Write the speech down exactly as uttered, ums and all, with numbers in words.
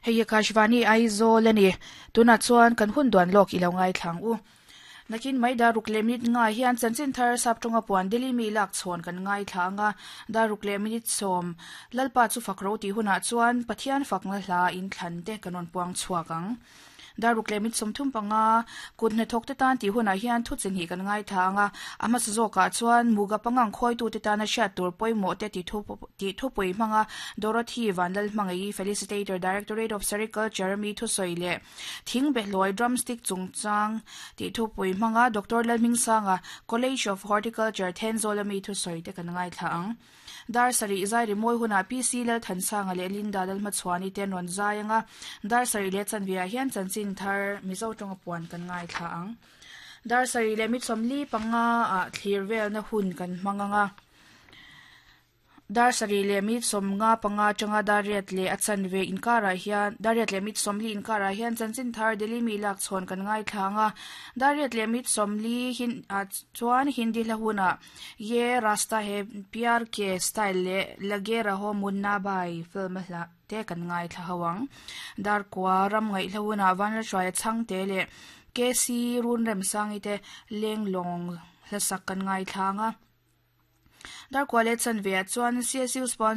Hei Akashvani Aizawl ani. Tuna chuan kan hun duan lawk ilo ngai thlang u. Nakin mai daruk leh minute nga hian chanchin thar saptawnga puan Delhi mi lak chhawn kan ngai thla anga daruk leh minute sawm lalpa chu fakro tih hunah chuan Pathian fakna hla in thlan te kan rawn puang chhuak ang. Daruk leh minute sawmthum panga kut hnathawk te tan tih hunah hian thu chinhnih kan ngai thla anga a hmasa zawkah chuan muga pangang khawitu te tana hriat tur pawimawh te ti thu tih thupui hmanga Dorothy Vanlal hmangaih Felicitator Directorate of Sericulture mi thusawi leh thing behlawi drumstick chungchang tih thupui hmanga Doctor Lalhmingsanga College of Horticulture Thenzawl ami thusawi te kan ngai thla ang. Dar sarih zai rimawi hunah P C Lalthansanga leh Linda Lalhmachhuani te an rawn zai anga dar sarih leh chanveah hian chanchin thar Mizo tawnga puan kan ngai thla ang. Dar sarih leh mi sawmli panga ah thlir velna hun kan hmang anga dar sarih leh mi sawmnga panga atanga dariat leh a chanve inkarah hian dariat leh mi sawmli inkarah hian chanchin thar Delhi mi lak chhawn kan ngai thla anga dariat leh mi sawmli hin ah chuan Hindi hla hunah Ye Rasta He Pyar Ke style leh Lage Raho Munna Bhai film a hla te kan ngai thla ho ang. Dar kua ram ngaih hla hunah Vanlalhruaia chhangte leh K C Run Remsangi te lenglawng hlasak kan ngai thla anga. Dar kua leh chanveah chuan C S U sponsor